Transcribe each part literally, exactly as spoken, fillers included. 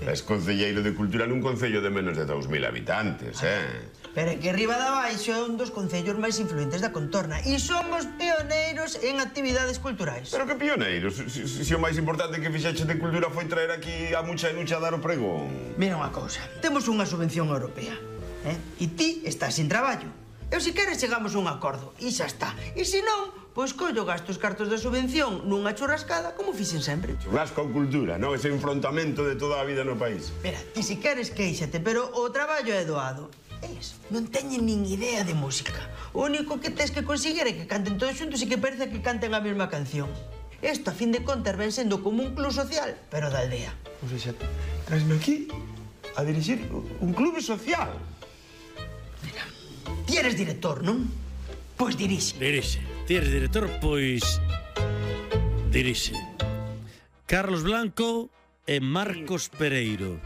Es concelleiro de Cultura nun concello de menos de dous mil habitantes, eh? Pero é que Riba de Baixo é un dos concellos máis influentes da contorna e somos pioneiros en actividades culturais. Pero que pioneiros? Si, si, si o máis importante que fixeche de cultura foi traer aquí a mucha e nucha a dar o pregón. Mira unha cousa, temos unha subvención europea, eh? E ti estás sin traballo. Eu se queres chegamos a un acordo e xa está. E se non, pois collo gasto os cartos da subvención nunha churrascada como fixen sempre. Churrasco con cultura, non? Ese enfrontamento de toda a vida no país. Mira, ti se queres quéixate, pero o traballo é doado. Eles non teñen nin idea de música. O único que tens que conseguir é que canten todos xuntos e que parece que canten a mesma canción. Isto, a fin de contas, ven sendo como un club social, pero da aldea. O sea, trasme aquí a dirixir un clube social. Mira, ti eres director, non? Pois dirixe. Dirixe. Ti eres director, pois dirixe. Carlos Blanco e Marcos Pereiro.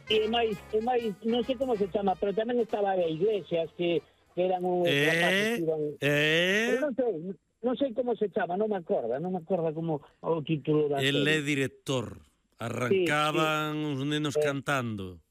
E máis, e máis, non sei como se chama, pero tamén estaba a Iglesias, que, que eran un... Eh, eh... non sei, non sei como se chama, non me acorda, non me acorda como o título da... El é director. Arrancaban sí, sí. Os nenos eh, cantando.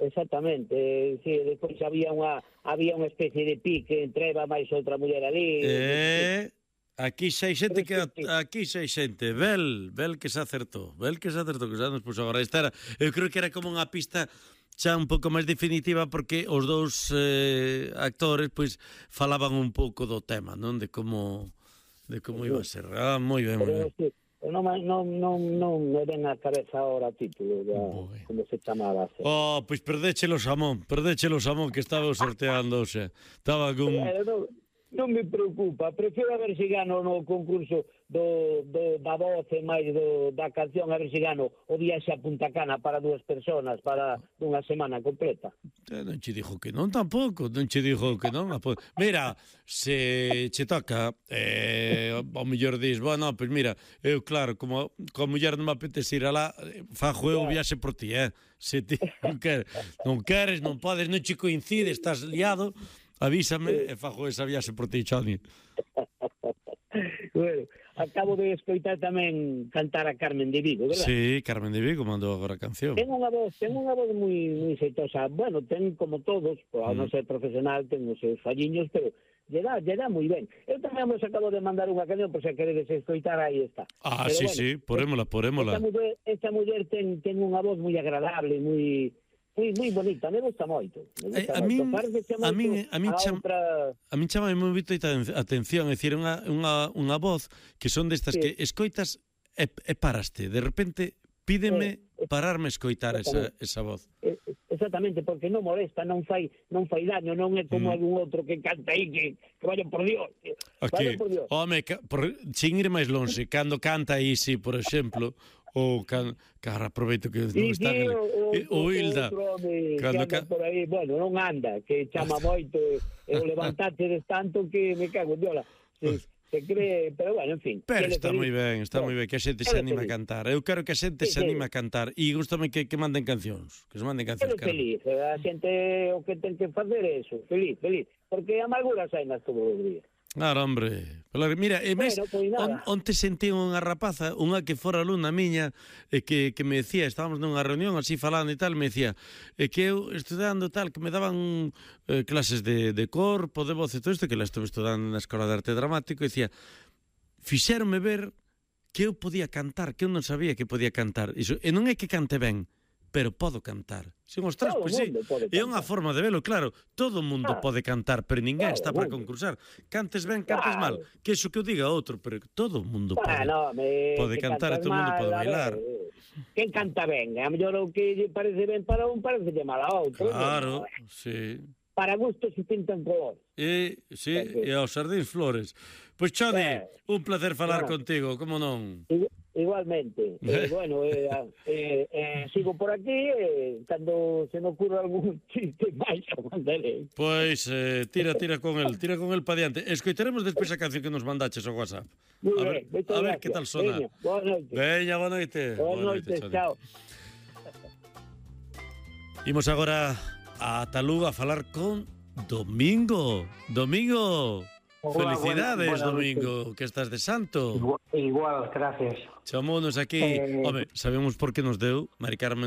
Exactamente, sí, despois había unha había unha especie de pique entre Eva máis outra muller ali. Eh... Aquí xa hai xente que aquí xa hai xente, vel, vel que se acertou, vel que se acertou, que xa nos puso agora. Esta era, eu creo que era como unha pista xa un pouco máis definitiva porque os dous eh, actores pois falaban un pouco do tema, non? De como de como iba a ser. Ah, moi ben, moi ben. Non, non, non, non me ven a cabeza ahora o título, ya, como se chamaba. Se. Oh, pois perdéchelo Samón, perdéchelo Samón que estaba sorteando, o sea, estaba con... Eh, no, non me preocupa, prefiro a ver se gano no concurso do, do, da voz e máis do, da canción, a ver se gano o viaxe a Punta Cana para dúas personas, para unha semana completa. Eh, non che dixo que non tampouco, non che dixo que non. Mira, se che toca, eh, ao mellor dis, bueno, pois mira, eu claro, como coa muller non me apetece ir alá, fajo eu o viaxe por ti, eh? Se ti non queres, non queres, non podes, non che coincide, estás liado, avísame e fajo esa viaxe por ti, Choni. Bueno, acabo de escoitar tamén cantar a Carmen de Vigo, verdad? Sí, Carmen de Vigo mandou agora a canción. Ten unha voz, ten unha voz moi moi xeitosa. Bueno, ten como todos, ao non ser profesional, ten os seus falliños, pero lle dá, lle dá moi ben. Eu tamén vos acabo de mandar unha canción, por se queredes escoitar, aí está. Ah, pero sí, bueno, sí, porémola, porémola. Esta muller, esta muller ten, ten unha voz moi agradable, moi... Moi, moi bonita, me gusta moito. Me gusta eh, a min, a min, a min, cham, outra... a min chama moi moito a atención, é dicir, unha, unha, unha voz que son destas sí. Que escoitas e, e paraste, de repente pídeme eh, pararme a escoitar esa, esa voz. Eh, exactamente, porque non molesta, non fai non fai daño, non é como mm. algún outro que canta aí que, que vaya por Dios. Aquí, vaya por Dios. Home, por, sin ir máis longe, cando canta aí, si, por exemplo, ou can, cara, aproveito que non está sí, o, o, o Hilda cando que anda por aí, bueno, non anda que chama moito e o levantate des tanto que me cago en diola se, se cree, pero bueno, en fin pero está moi ben, está moi ben que a xente se anima a cantar, eu quero que a xente se anima a cantar e gustame que, que manden cancións que se manden cancións, pero feliz, a xente o que ten que facer é eso, feliz, feliz porque a amargura sai nas todos os días. Claro, hombre. Mira, e mes, bueno, pues on, onte sentí unha rapaza, unha que fora alumna miña, e que, que me decía, estábamos nunha reunión así falando e tal, me decía, e que eu estudando tal, que me daban eh, clases de, de corpo, de voz e todo isto, que la estuve estudando na Escola de Arte Dramático, e decía, fixéronme ver que eu podía cantar, que eu non sabía que podía cantar. Iso, e non é que cante ben, pero podo cantar. Sin os tres, pois sí. É unha forma de velo, claro. Todo o mundo ah, pode cantar, pero ninguén claro, está para concursar. Cantes ben, cantes claro. mal. Que iso que eu diga outro, pero todo o mundo pode, bueno, me, pode cantar e todo o mundo pode bailar. Quen canta ben? A mellor o que lle parece ben para un parece mal a outro. Claro, no? Sí. Para gusto se pintan colores. E, sí, e aos sardíns flores. Pois, Chodi, eh, un placer falar bueno, contigo, como non? Igualmente. Eh, bueno, eh, eh, eh, sigo por aquí eh, cando se me ocurra algún chiste máis a mandaré. Pois, eh, tira, tira con el, tira con el pa diante. Escoitaremos despois a canción que nos mandaches ao WhatsApp. Muy a ver, bien, a ver que tal sona. Veña, boa noite. Veña, boa noite. Boa noite, chao. Imos agora a Talú a falar con Domingo. Domingo. Hola, felicidades, buena, buena Domingo, noche. Que estás de santo. Igual, igual gracias. Chamounos aquí, eh... home, sabemos por que nos deu Mari Carmen